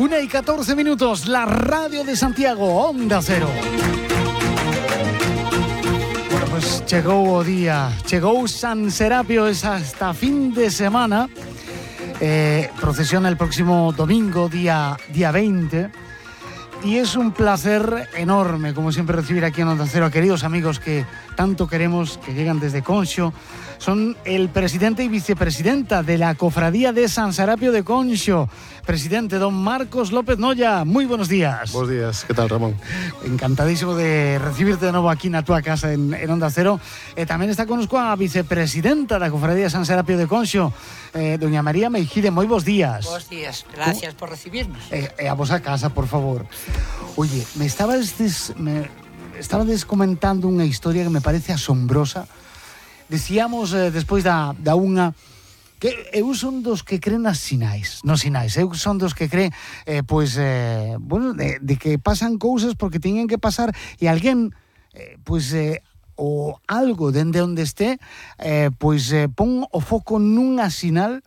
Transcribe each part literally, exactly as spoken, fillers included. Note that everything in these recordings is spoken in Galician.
Una y catorce minutos, la radio de Santiago, Onda Cero. Bueno, pues chegou o día, chegou San Serapio, es hasta fin de semana. Eh, procesiona el próximo domingo, día, día veinte. Y es un placer enorme, como siempre, recibir aquí en Onda Cero a queridos amigos que tanto queremos, que llegan desde Conxo. Son el presidente y vicepresidenta de la Cofradía de San Serapio de Conxo. Presidente, don Marcos López Noya, muy buenos días. Buenos días, ¿qué tal, Ramón? Encantadísimo de recibirte de nuevo aquí en tu casa en, en Onda Cero. Eh, también está con nosotros a vicepresidenta de la Cofradía de San Serapio de Conxo, eh, doña María Meijide, muy buenos días. Buenos días, gracias ¿Cómo? por recibirnos. Eh, eh, a vos a casa, por favor. Oye, me estabas, des, me estabas comentando una historia que me parece asombrosa. Decíamos eh, despois da, da unha que eu son dos que creen nas sinais, nos sinais, eu son dos que creen eh, pois, eh, bueno, de, de que pasan cousas porque teñen que pasar e alguén eh, pois eh, o algo dende onde este eh, pois eh, pon o foco nunha sinal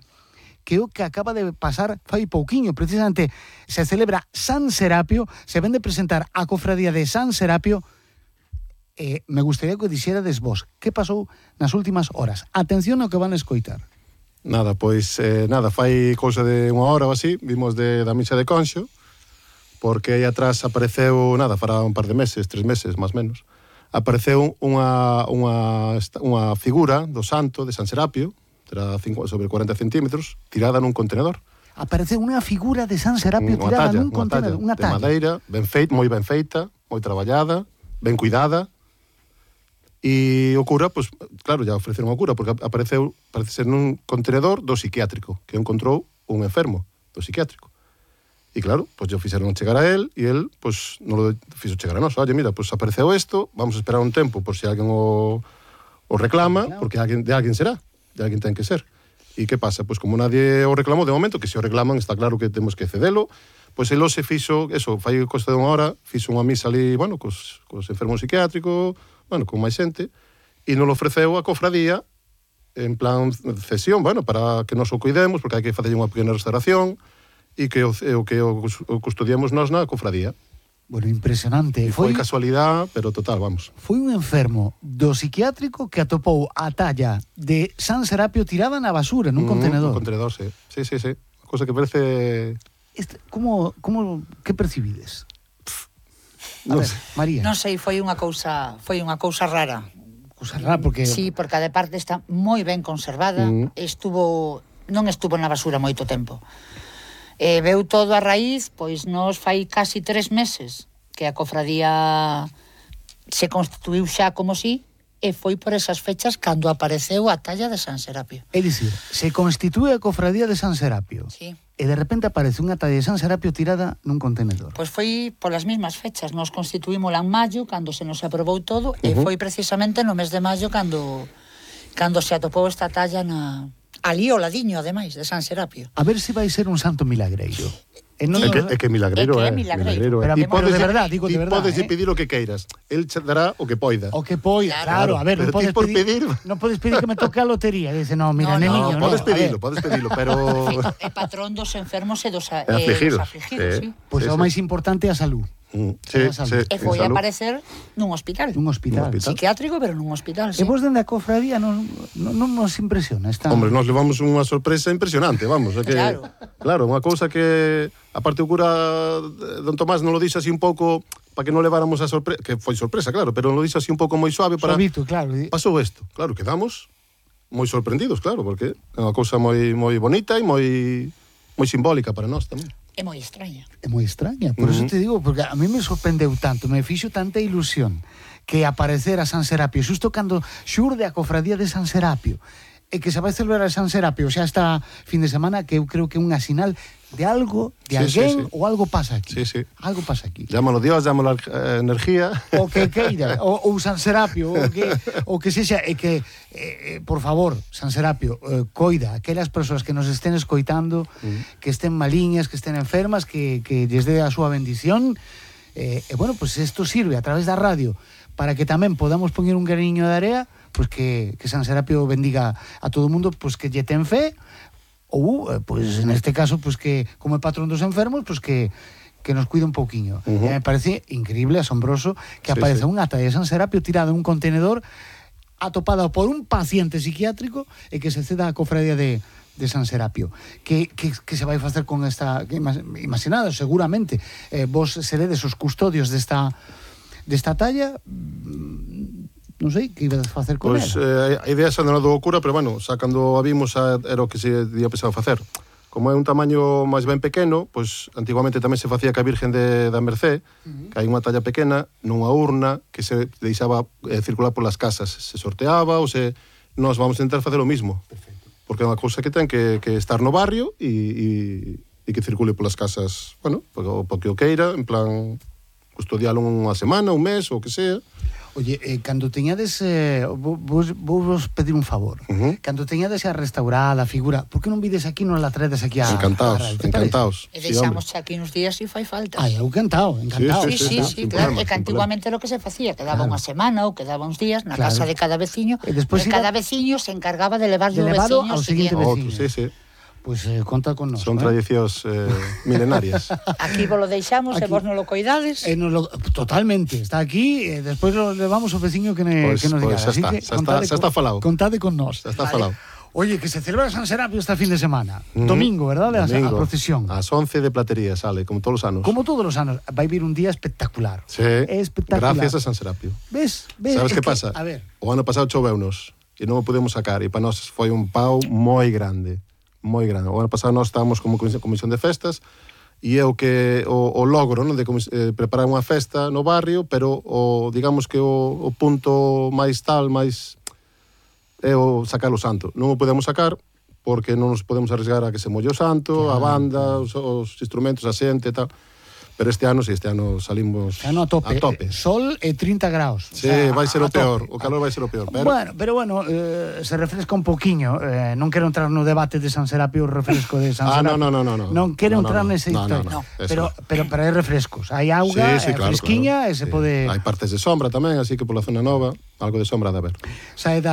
que o que acaba de pasar fai pouquiño. Precisamente se celebra San Serapio, se ven de presentar a cofradía de San Serapio. Eh, me gustaría que dixerades vos que pasou nas últimas horas. Atención ao que van a escoitar. Nada, pois, eh, nada, fai cousa de unha hora ou así, vimos de, da misa de Conxo, porque aí atrás apareceu, nada, para un par de meses, tres meses, máis menos, apareceu unha, unha, unha figura do santo de San Serapio, era cinco, sobre cuarenta centímetros, tirada nun contenedor. Apareceu unha figura de San Serapio unha tirada talla, nun contenedor, unha talla. De madeira, ben feita, moi ben feita, moi traballada, ben cuidada. E o cura, pois, claro, ya ofreceron o cura, porque apareceu, parece ser nun contenedor do psiquiátrico, que encontrou un enfermo do psiquiátrico. E claro, pois yo fixeron chegar a él, e él, pois, non lo fixo chegar a nós. Oye, mira, pois apareceu isto, vamos a esperar un tempo por se alguén o, o reclama, porque alguén, de alguén será, de alguén ten que ser. E que pasa? Pois como nadie o reclamou de momento, que se o reclaman está claro que temos que cedelo, pois el se fixo, eso, fai costa de unha hora, fixo unha misa ali, bueno, cos, cos enfermos psiquiátricos, bueno, con máis xente, e nos ofreceu a cofradía en plan de cesión, bueno, para que nos o cuidemos, porque hai que facer unha pequena restauración, e que o, o que o, o custodiamos nós na cofradía. Bueno, impresionante. E foi, foi casualidade, pero total, vamos. Foi un enfermo do psiquiátrico que atopou a talla de San Serapio tirada na basura, nun mm, contenedor. Un contenedor, sí. Sí, sí, sí. Cosa que parece... Este, como, como, que percibides? A non ver, sei. María. Non sei, foi unha cousa, foi unha cousa rara. Cousa rara porque Sí, porque a de parte está moi ben conservada, Mm. estuvo non estuvo na basura moito tempo. E veu todo a raíz, pois nos fai casi tres meses que a cofradía se constituiu xa como si, e foi por esas fechas cando apareceu a talla de San Serapio. É dicir, se constitúe a cofradía de San Serapio. Sí. E de repente aparece unha talla de San Serapio tirada nun contenedor. Pois foi polas mesmas fechas. Nos constituímola en maio, cando se nos aprobou todo, uh-huh. e foi precisamente no mes de maio cando cando se atopou esta talla na ali ao ladiño, ademais, de San Serapio. A ver se vai ser un santo milagreiro. E non, é, que, é que milagreiro é. É que é milagreiro. Pero, e podes, de verdad, digo de verdad. E podes eh? pedir o que queiras. El che dará o que poida. O que poida, claro, Claro, a ver, pero non podes ti por pedir, pedir- non podes pedir que me toque a lotería. Dice, no, mira, No, neniño, no, no. Podes a ver. pedilo, podes pedilo, pero... É patrón dos enfermos e dos, a- E eh, afligidos. dos afligidos, Eh. sí. Pois Sí, é o sí. máis importante a salud. Mm, sí, sí, E foi en a salud. aparecer nun hospital. Nun hospital. Nun hospital. Psiquiátrico, pero nun hospital, E sí. vos dende a cofradía non, non, non nos impresiona esta... Hombre, nos levamos unha sorpresa impresionante, vamos. É que, Claro. Claro, unha cousa que... Aparte o cura don Tomás non lo dixo así un pouco para que non leváramos a sorpresa, que foi sorpresa, claro, pero non lo dixo así un pouco moi suave para... Suavito, claro. Pasou isto. Claro, quedamos moi sorprendidos, claro, porque é unha cousa moi moi bonita e moi moi simbólica para nós tamén. É moi extraña. É moi extraña, por uh-huh. eso te digo, porque a mí me sorprendeu tanto, me fixo tanta ilusión que aparecera San Serapio, xusto cando xurde a cofradía de San Serapio, e que se vai celebrar a San Serapio xa esta fin de semana, que eu creo que é unha sinal de algo, de Sí, alguén, sí, sí. ou algo pasa aquí. Sí, sí. Algo pasa aquí. Llámalo Dios, llámalo eh, energía. O que queira, ou, ou San Serapio, o que, o que sexa, e que, eh, por favor, San Serapio, eh, coida aquelas persoas que nos estén escoitando, mm. que estén maliñas, que estén enfermas, que, que lles dé a súa bendición, eh, e bueno, pues isto sirve a través da radio para que tamén podamos poñer un graniño de area, pues que, que San Serapio bendiga a todo o mundo, pues que lle ten fe, ou, eh, pois, neste caso, pois que, como é patrón dos enfermos, pois que que nos cuida un pouquiño. Uh-huh. E me parece increíble, asombroso, que Sí, apareza sí. unha ata de San Serapio tirada en un contenedor atopada por un paciente psiquiátrico e que se ceda a cofradía de, de San Serapio. Que, que, que se vai facer con esta... Que, imaginado, seguramente, eh, vos seredes os custodios desta, desta talla, mm, non sei, que ibades facer con Pois ela. eh, a idea xa non do cura, pero bueno, xa cando a vimos a, era o que se día pensado facer. Como é un tamaño máis ben pequeno, pois antiguamente tamén se facía ca Virgen de, da Mercé, uh-huh. que hai unha talla pequena, nunha urna, que se deixaba eh, circular polas casas. Se sorteaba ou se... Nós vamos intentar facer o mismo. Perfecto. Porque é unha cousa que ten que, que estar no barrio e, e, e que circule polas casas, bueno, porque o queira, en plan, custodialo unha semana, un mes, ou que sea. Oye, eh, cando teñades eh, vos, vos, vos pedir un favor. Uh-huh. Cando teñades a restaurada a figura, por que non vides aquí, non la traedes aquí a... Encantados, a, a encantados. E deixamos sí, aquí uns días se fai falta. Ai, eu encantado, encantado. Sí, sí, sí, sí, claro, é que antiguamente lo que se facía, quedaba claro. unha semana ou quedaba uns días na claro. casa de cada veciño, e, despois e cada veciño se encargaba de levarlo de ao veciño ao seguinte veciño. Sí, sí. Pois pues, eh, conta con nos. Son ¿eh? tradicións eh, milenarias. Aquí vos lo deixamos aquí. E vos non lo coidades. Eh, no lo, totalmente, está aquí, e eh, despois lo levamos ao veciño que, ne, Pois, que nos diga. pois, xa está, xa está, xa está falado. Contade con nos. Xa está falado. Oye, que se celebra San Serapio este fin de semana. Mm. Domingo, verdad? A, a Domingo. procesión. Ás once de Platería sale, como todos os anos. Como todos os anos, vai vir un día espectacular. Sí, espectacular. gracias a San Serapio. Ves? Ves? Sabes Es que pasa? A ver. O ano pasado choveunos e non o podemos sacar e para nós foi un pau moi grande, moi grande. O ano pasado nós estábamos como comisión de festas e é o que o, o logro, non, de eh, preparar unha festa no barrio, pero o digamos que o, o punto máis tal, máis é o sacar o santo. Non o podemos sacar porque non nos podemos arriesgar a que se molle o santo, claro, a banda, os, os instrumentos, a xente e tal. Pero este ano, si, sí, este ano salimos este ano a tope. a tope. Sol e trinta graus. Sí, o sea, vai ser o peor, tope. O calor vai ser o peor. Pero... Bueno, pero bueno, eh, se refresca un poquinho. Eh, non quero entrar no debate de San Serapio, o refresco de San ah, Serapio. Ah, no, no, no, no. Non quero no, entrar no, nesa no, historia. No, no, no, pero, pero, pero hai refrescos. Hai auga, sí, sí, claro, fresquiña, claro. E se sí. pode... Hai partes de sombra tamén, así que pola zona nova, algo de sombra de haber. Sae das